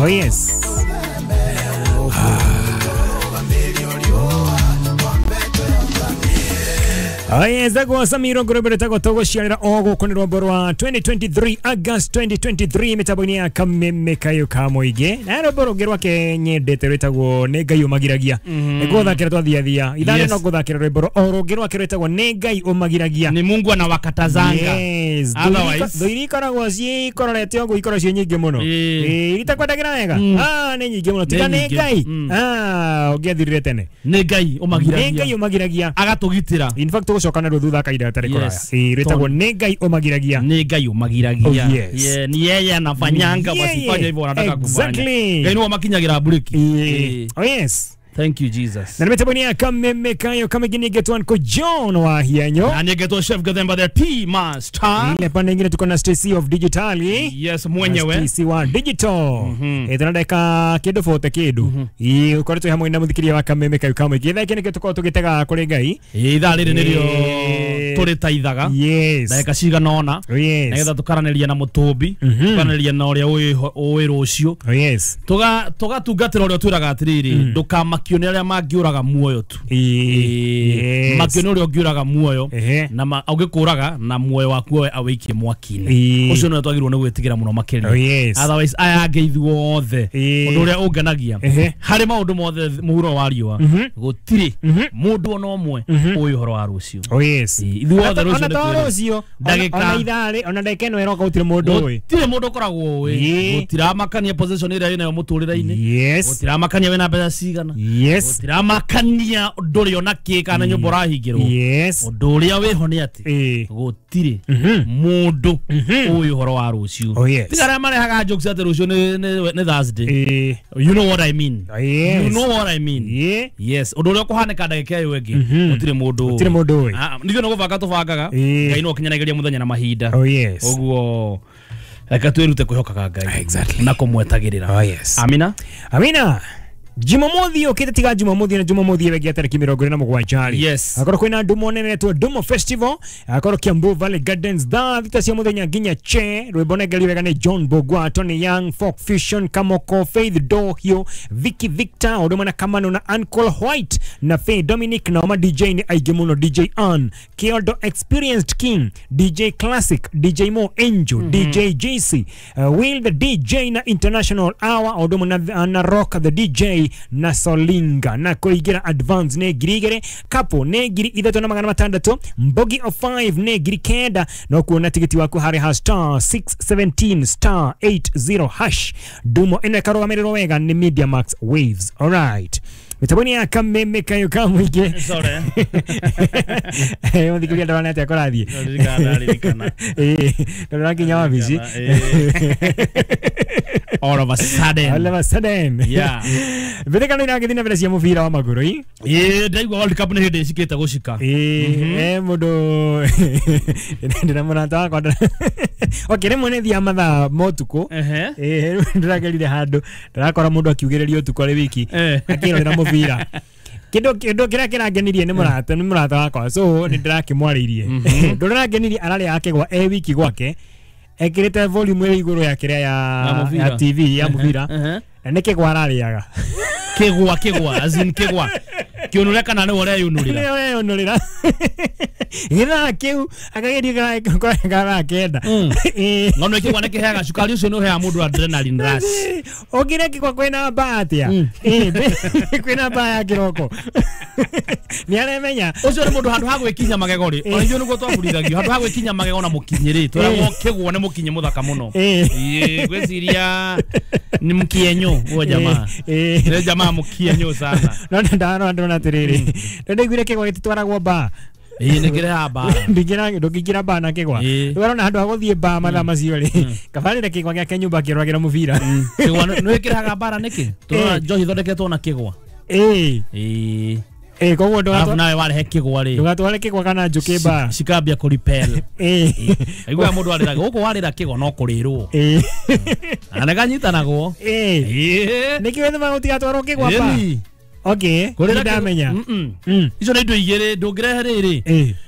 Oh yes. Aya zagwa Samiro Ngorobere tago togo shianira ogo kuni rwambo rwa 2023 August 2023 mitambo-inĩ ya Kameme Kayo ka Mũingĩ na rwambo rũngĩ rwake nyendete rwĩtagwo Nĩ Ngai Ũmagiragia. Nĩ gũthakĩra twathiathia ithaa Yes. no gũthakĩra rwĩmbo o rũngĩ rwake rwĩtagwo Nĩ Ngai Ũmagiragia. Ni Mungu anawakatazanga. Yes. Otherwise- Thũ iria ikoragwo ciikororete ũguo ikoragwo ciĩ nyingĩ mũno. Ĩĩ. Ĩĩ, iria itakwendagĩra wega. Ah, nĩ nyingĩ mũno tiga Nĩ nĩ nyingĩ. Ngai. Ah, ũngĩathirire tene. Nĩ Ngai Nĩ ũmagiragia. Ngai Ũmagiragia. Agatũgitĩra. In fact tũgũcoka naruo thutha kahinda gatarĩ kũraya. Yes. Ĩĩ, rwĩtagwo Nĩ Ngai Ũmagiragia. Nĩ Ngai ũmagiragia. Oh, yes. Yeah, ni yeye anafanyanga Ni yeye. wasifanye hivyo wanataka kufanya. Exactly. Ngai nĩwe ũmakinyagĩra breki. Ĩĩ. Ĩĩ. Oh yes. Thank you, Jesus. Na nĩ mĩtambo-inĩ ya Kameme Kayo Kamĩngĩ nĩngetwo Uncle John wa Hianyo. Na nĩngetwo Chef Gathemba the Tea Master. Ile pande ingine tuko na Stacy of Digitali. Yes, mwenyewe. Stacy wa Digital. Eh, tuna dakika kĩndũ 40 kĩndũ. Ĩĩ, ũkoretwo hamwe na mũthikĩria wa Kameme Kayo Kamĩngĩ. Thaa ikĩ nĩkĩo tũkoragwo tũgĩtega kũrĩ Ngai. Ĩĩ, ithaa rĩrĩ nĩrĩo Ĩĩ. tũrĩtaithaga. Yes. Ndagĩka cigana ũna. Oh yes. Nĩgetha tũkaranĩria na mũtũmbi, tũkaranĩria na ũrĩa ũĩ rũciũ. Oh yes. Tũgatungatĩra ũrĩa ũtwĩraga atĩrĩrĩ, ndũkamakio nĩ arĩa mangĩũraga muoyo tu. Ĩĩ. Yes. Makio nĩ ũrĩa ũngĩũraga muoyo Ehe. na ũngĩkũraga na muoyo waku we awĩikie mwaki-inĩ. Ĩĩ. Ũcio nĩwe twagĩrĩirwo nĩ gwĩtigĩra mũno makĩria. Oh yes. Otherwise aya angĩ ithuothe, Ĩĩ. ũndũ ũrĩa ũngenagia Ehe. harĩ maũndũ mothe mũhuro wa riũa, gũtirĩ mũndũ ona ũmwe ũĩ ũhoro wa rũciũ. Oh yes. Ĩĩ, ithuothe rũciũ Ona nĩ to twĩrĩ. rũciũ. Ndagĩka- Ona ithaa rĩ, ona ndagĩka ĩno ĩroka gũtirĩ mũndũ ũĩ. Gũtirĩ mũndũ ũkoragwo ũĩ. Ĩĩ. Gũtiramakania position ĩrĩa wĩnayo mũtũrĩre-inĩ. Yes. Gũtiramakania wĩna mbeca cigana. Yes. Gũtiramakania ndũrĩ ona kĩ kana nyũmba ũrahingĩrwo. Yes. Ũndũ ũrĩa wĩho nĩ atĩ Ĩĩ. gũtirĩ mũndũ ũĩ ũhoro wa rũciũ. Oh yes. Tiga arĩa marehaga jokes atĩ rũciũ nĩ Thursday. Ĩĩ. You know what I mean. Oh yes. You know what I mean. Ĩĩ. Yes, ũndũ ũrĩa ũkũhanĩka ndagĩka ĩyo ĩngĩ gũtirĩ mũndũ Gũtirĩ mũndũ ũĩ. Ah, nithuĩ no gũbanga tũbangaga. Ĩĩ. Ngai no ũkinyanagĩria mũthenya na mahinda. Oh yes. Ũguo reke twĩrute kwĩhokaga Ngai Exactly. na kũmwetagĩrĩra. Oh yes. Amina. Amina. Jumamothi yũkĩte tiga Jumamothi na Jumamothi ĩyo ĩngĩ ya tarĩki 27 rĩ. Yes. Akorwo kwĩna ndumo nene etwo Ndumo Festival, akorwo Kiambu Valley Gardens thaa 6 cia mũthenya nginya che. Rwĩmbo nengerio wega nĩ John Bogwa, Tony Young, Folk Fusion, Kamoko, Faith Dohio, Vicky Victor, ũndũ ũmwe na Kamano na Uncle White na Faith Dominic na ma DJ nĩ aingĩ mũno, DJ Ann, Kiondo Experienced King, DJ Classic, DJ Mo Angel, DJ JC, Will the DJ na International Hour, ũndũ ũmwe na Rock the DJ na Solinga. Na kũingĩra advance nĩ 2,000, couple nĩ 3,600, mbogi of 5 nĩ 9,000. No kuona tigiti waku harĩ ha star 617 star 80 hash. Ndumo ĩno ĩkarũgamĩrĩrwo wega nĩ Media Max Waves. Alright. Mĩtambo-inĩ ya Kameme Kayo ka Mũingĩ. Sorry. Mũthikĩrĩria ndarona atĩa kũrathiĩ. Ndaririkanaa, ndaririkana. Ĩĩ, ndũrakinya wabici. All of a sudden. All of a sudden. Yeah. Mbĩtĩkano iragĩthiĩ na mbere cia mũbira wa magũrũ ĩ? Ĩĩ, ndaigua World Cup nĩ hĩndĩ ĩcikĩte gũcika. Ĩĩ, mũndũ ndĩna mũrata wakwa okay, rĩmwe nĩ thiaga mathaa ma ũtukũ. Ehe. Ĩĩ, rĩu ndĩragerire handũ ndĩrakora mũndũ akiugĩrĩria ũtukũ arĩ wiki akĩrorera mũbira. Kĩndũ kĩrĩa kĩrangenirie nĩ mũrata wakwa, so nĩ ndĩrakĩmwarĩirie. Ũndũ ũrĩa ũrangenirie, ararĩa akĩgwa e wiki gwake ekĩrĩte volume ĩrĩ igũrũ ya kĩrĩa Ya mũbira. ya TV ya mũbira Ehe. na nĩ kĩgwa ararĩaga. Kĩgwa, kĩgwa, as in kĩgwa kĩũnũre kana nĩwe ũreyũnũrĩra? Nĩwe ũreyũnũrĩra gĩthaa kĩu akageria karaa 9. Ĩĩ. Ng'ano kĩgwa nĩ kĩheaga cukari ũcio nĩ ũheaga mũndũ adrenaline rush. Ũngĩrĩa kĩgwa kwĩna mbaa atĩa? Ĩĩ, kwĩna mbaa ya kĩroko nĩ aremenya. Ũcio nĩ mũndũ handũ ha gwĩkinya magego rĩ, ona ithuĩ nĩguo twabundithagio handũ ha gwĩkinya magego na mũkinyĩ rĩ, twĩragwo kĩgwa nĩ mũkinyĩ mũthaka mũno. Ĩĩ. Ĩĩ, ngwĩciria ni mkienyo huo jamaa. Ĩĩ. Nĩ jamaa mkienyo sana. No ndarora ndona atĩrĩrĩ, nĩ ndaiguire kĩgwa gĩtitwaragwo mbaa. Ĩĩ, nĩ kĩrehaga mbara. Ndũngĩingĩra mbaa na kĩgwa. Ĩĩ. Rĩu arona handũ ha gũthiĩ mbaa mathaa macio rĩ, kabarĩre kĩgwa gĩake nyũmba akĩroragĩra mũbira. Kĩgwa nĩ kĩrehaga mbara nĩkĩ? Tũrona njohi ithondeketwo na kĩgwa. Ĩĩ. Ĩĩ. Ĩĩ, koguo Alafu nawe warehe kĩgwa rĩ, ndũgatware kĩgwa kana njũkĩ mbaa. Cikambia kũripel. Ĩĩ. Aiguaga mũndũ arĩraga gũkũ warĩra kĩgwa no kũrĩrwo Ĩĩ. na nĩkanyitanagwo. Ĩĩ. Ĩĩ. Nĩkĩo wĩthemaga gũtigatwarwo kĩgwa mbaa. Ĩni. Okay, Kũrĩra nĩndamenya. Icio nĩ indo igĩrĩ ndũngĩrehe rĩrĩ. Ĩĩ.